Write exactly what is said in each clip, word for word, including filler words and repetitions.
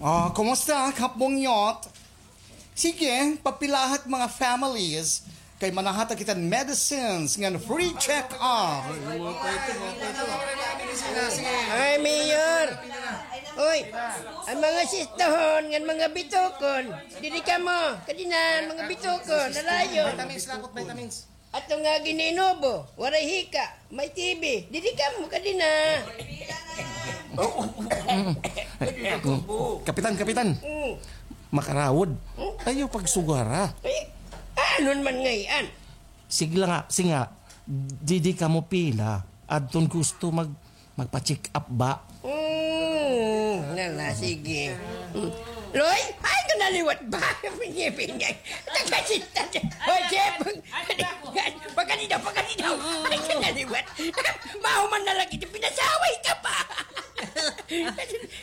Ah, kumusta, Kap Bungyot? Sige, papila ha it mga families. Kay manahatag kita hin medicines ngan free check-up. Ay, Mayor! Uy, an mga sistahon ngan mga bitokon, didi kamo, kadina, mga bitokon, nalayo. Vitamins, lapot, vitamins. Ato nga gin-inubo, waray hika, may T B, didi kamo, kadina. Kapitan, kapitan. Mm. Makarawod. Hmm? Ayaw pagsugara. Eh, ano naman ngay-an? Sige la nga, sige nga, didi kamo pila, adton gusto mag-, magpa-check up ba? Hmm, nala, sige. Hmm. Loy, ay, ka naliwat ba? Pinyay-pinyay. Taga-check-up. Hoy, Jeff! Pagkadi daw, pagkadi daw. Ay, ka naliwat. Mahuman na lagi, pinasaway ka pa.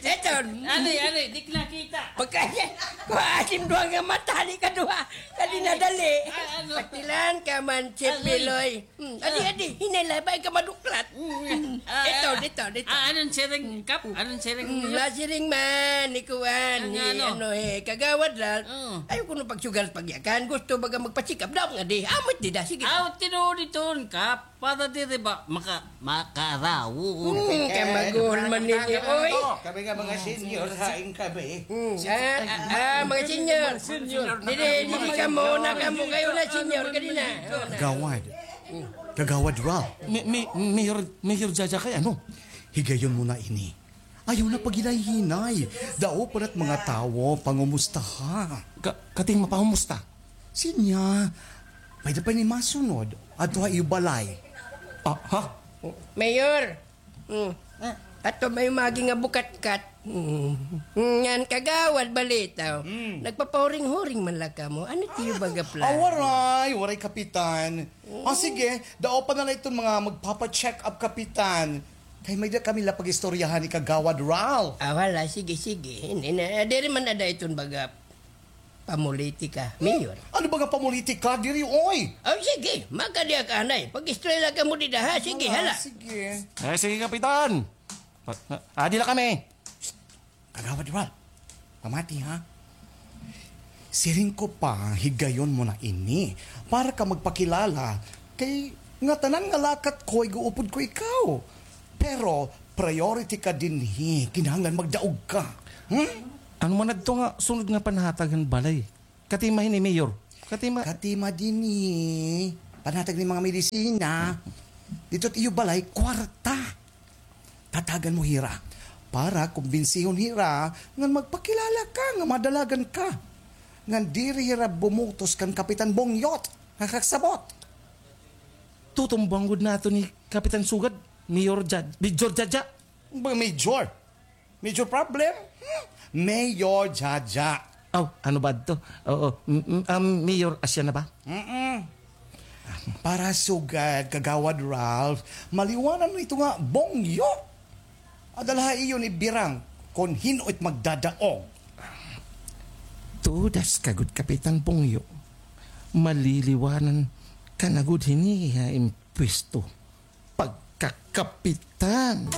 Eto. Ano, ano, di nakita. Pagkadi, kuha, asim duha nga mata, hali ka duha. Dali na, dali. Ah, ano? Patilan ka man, Chip Aloy. Biloy. Hmm, adi, adi, hinay la, bangin ka maduklat. Hmm, ah, ito, ah, dito, dito. Ah, anong siring, Kap? Anong siring Hmm, niyo? Nasiring man, ni kuan, Ang ni ano? ano, eh, Kagawad Ralph. Oo. Ayaw kuno pagsugal pagyakan. Gusto baga magpa-check up daw nga di. Amot di da, sige. Aw, tinuod iton, Kap. Para diri ba maka-, makarawon. Hmm, kay maguhol man ninyo, oy. Kami nga mga senior, hain kami. Hmm, ah, ah, ah, mga senior. Senior. Dili, dili kamo, na kamo, kayo na senior, kadina. Gawad. Kagawad Ralph. Mi-, mi-, Mayor, Mayor Jaja kay ano? Higayon mo na ini. Ayaw na paghinay-hinay. Dao pa na't mga tawo, pangumustaha. Ka-, kating mapangumusta? Sinya, may da pa ini masunod. Adto ha iyo balay. Ah, ha? Mayor, hmm. Ato may magi nga bukatkat. Hmm. Ngan kagawad balitaw. Hmm. Nagpapahuring-huring man la kamo. Ano tiyo baga plano? Ah, waray, waray, Kapitan. Ah, sige, dao pa na la iton mga magpapa-check up, Kapitan. Kay may da kami la pag-istoryahan ni Kagawad Ralph. Ah, wala. Sige, sige. Hindi na, diri man ada iton baga pamulitika, Mayor. Ano baga pamulitika? Diri, oy. Oh, sige. Makadiya ka, anay. Pag-istorya la kamo dida, ha? Sige, hala. Sige. Eh, sige, Kapitan. Ah, di la kami. Kagawad Ralph, pamati, ha? Siring ko pa, higayon mo na ini para ka magpakilala kay ngatanan nga lakat ko, ig-uupod ko ikaw. Pero priority ka dinhi, kinahanglan magdaog ka. Hmm? Ano man adto nga sunod nga panhatag han balay? Katima hini, Mayor. Katima. Katima dinhi. Panhatag ni mga medisina. Didto it iyo balay, kwarta. Tatagan mo hira. Para kumbinsihon hira ngan magpakilala ka nga madalagan ka. Ngan diri hira bumutos kan Kapitan Bungyot nga kasabot. Tutumbang gud naton ni Kapitan Sugad, Mayor Jad-, Major Jaja. Ba, Major? Major problem? Hmm? Mayor Jaja. Aw, ano ba adto? Oo, m-, m-, um, Mayor, asya na ba? Mm-mm. Para sugad, Kagawad Ralph, maliwanan mo ito nga bongyo. Ada la ha iyo ni Birang, kon hin-o it magdadaog. Tudas ka gud, Kapitan Bongyo. Maliliwanan ka na gud hini ha impwesto. Pagkakapitan.